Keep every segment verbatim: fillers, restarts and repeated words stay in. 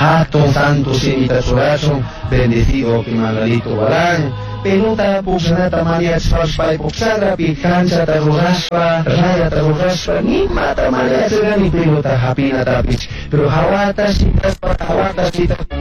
Hatun santo shimita churachun, bendecido Manuelito Gualán. Pelota pukshanata maniachpash paypuk chakrapi kanchata rurashpa, rayata rurashpa, nimata maniachirkani pelota hapinatapish, pero hawata shitashpa, hawata shitashpa.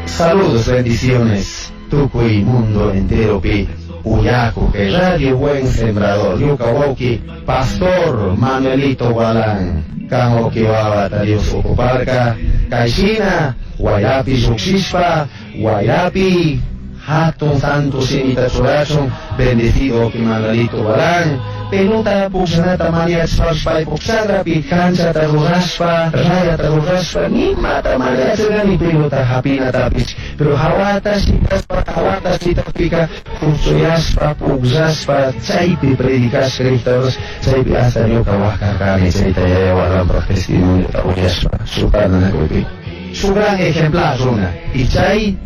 Saludos, bendiciones, tukuy mundo entero pi. Uyaku, que Radio Buen Sembrador, Yuka Wauki, Pastor Manuelito Gualán, Kango Kiwawa, Dios Ocuparca, Kaishina, Guayapi Yuxishpa, Guayapi, Hatun Santo Shimita Churachun, bendecido Manuelito Gualán, pelota pukshanata maniachpash paypuk chakrapi kanchata rurashpa, rayata rurashpa, nimata maniachirkani pelota hapinatapish, pero hawata shitashpa, hawata shitashpika, puksuyashpa, pukllashpa, chaypi predicashka riktapash, chaypi hasta ñuka wajkarkani, chayta yaya Gualanpaj testimoniota uyashpa, shuk Su gran ejemplar runa, y chay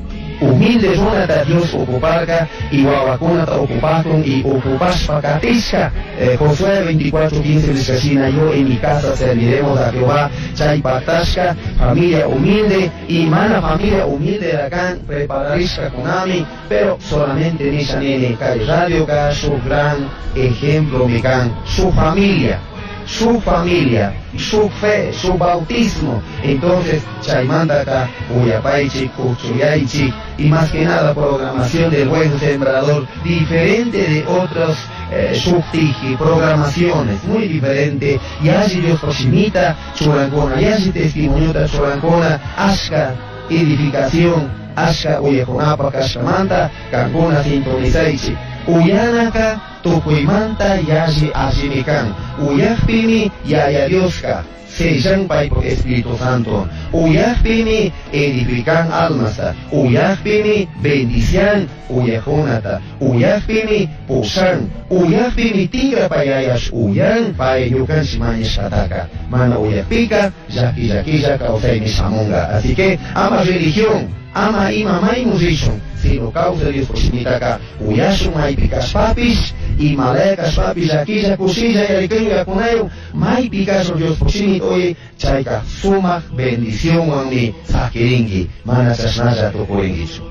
humilde runata Dios ocuparka y wawakunata ocupakun y ocupashpa katishka. eh, Josué veinticuatro quince nishkashina, yo en mi casa serviremos a Jehová. Chay patashka, familia humilde y mana familia humilde acá prepararishka kunami, pero solamente nisha nene kay radio ka su gran ejemplo mikan, su familia, su familia, su fe, su bautismo. Entonces, chaymantaka, uyapaychik, kuchuyaychik, y más que nada programación del Buen Sembrador, diferente de otros eh, subtiji, programaciones, muy diferente. Y allí Dios proximita, churancona, y allí testimoniota churancona, ashka edificación, ashka uyajonapa, kashkamanta, kankuna sintonizaychik. Uyanaka, tukuymanta yashi ashimikan, uyajpimi yaya Dioska, sellan paypuk Espíritu Santo, uyajpimi edifican almasta, uyajpimi bendician uyajunata, uyajpimi pushan, uyajpimi tigra payayash uyan pay ñukanchik mañashkataka, mana uyajpika llaki llakilla kawsaymi shamunga. Así que ama religión, ama ima maymu rishun, sino causa Dios proximitaka uyashun maypi kashpapish, imalaya kashpapish, llakilla kushilla yarikayun yakunayu, maypi kashun Dios proximit oye, chayka sumaq bendicionwanmi sakirinki, mana chashnalla tukurinkichu.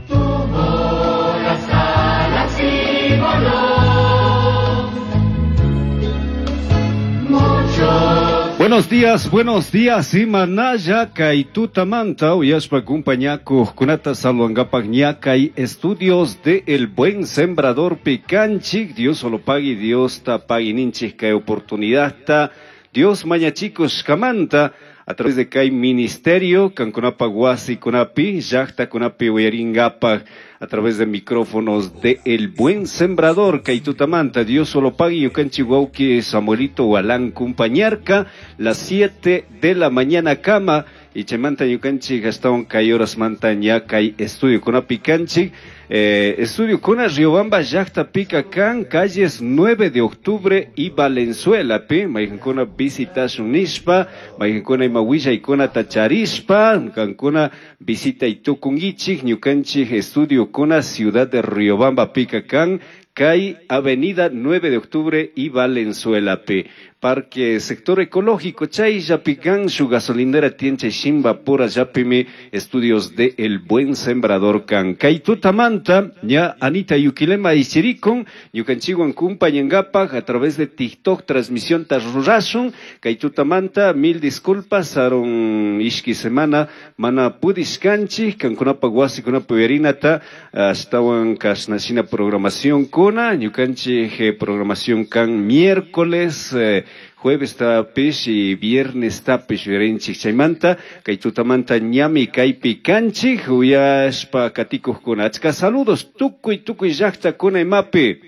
Buenos días, buenos días, imanaya kay tutamanta uyashpa kumpañakuq kunata saludangapak ñakay estudios de El Buen Sembrador pikanchik. Dios solo pagui, Dios ta pagui ninchik kay oportunidad ta Dios mañachikos kamanta a través de kay ministerio kankunapa wasi kunapi llaqta kunapi uyaringapak a través de micrófonos de El Buen Sembrador, Kaitutamanta, Dios solo pagui, ñukanchik wawqi Samuelito Gualán kumpañarka, las siete de la mañana kama, y chaymanta ñukanchik astawan kay horasmanta ña kay estudio kunapi kanchik, eh, estudio kuna Riobamba llaqta pika kan, calles nueve de octubre y Valenzuela, pi, mayqankuna visitashun nishpa, mayqankuna ima willaykunata charishpa, kankuna visitay tukunkichik, ñukanchik estudio kuna ciudad de Riobamba pica kan, kay avenida nueve de octubre y Valenzuela P. Parque Sector Ecológico chay yapican su gasolinera tienche shimba pura yapimi estudios de El Buen Sembrador kan. Kay tutamanta ña Anita Yuquilema ichirikun ñukanchikwan kumpañangapak a través de TikTok transmisión tarrurasun. Kay tutamanta mil disculpas aron ishki semana mana pudishkanchik kankunapa wasikunapa uyarinata ashtawan kashnashina programación kuna ñukanchik programación kan miércoles eh, jueves tapish y viernes tapish uyarinchik chaymanta kay tutamanta ñami kaypi kanchik uyashpa katikuqkuna achka saludos tukuy tukuy llaqtakuna imapi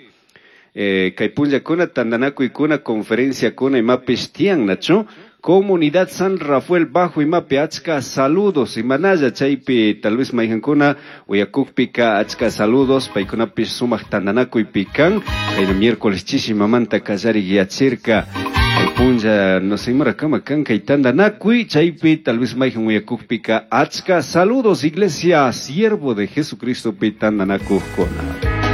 eh, kay punllakuna tantanakuykuna conferenciakuna imapish tiyan nachu Comunidad San Rafael Bajo imapi achka saludos imanalla chaypi tal vez mayqankuna uyakukpika achka saludos paykunapish sumaq tantanakuypi kan kayna miércoles chishi mamanta kallari yachirka punlla no sé imara kama kan kay tantanakuy chaypi tal vez mayqan uyakukpika achka saludos Iglesia Siervo de Jesucristo pi tantanakuqkuna.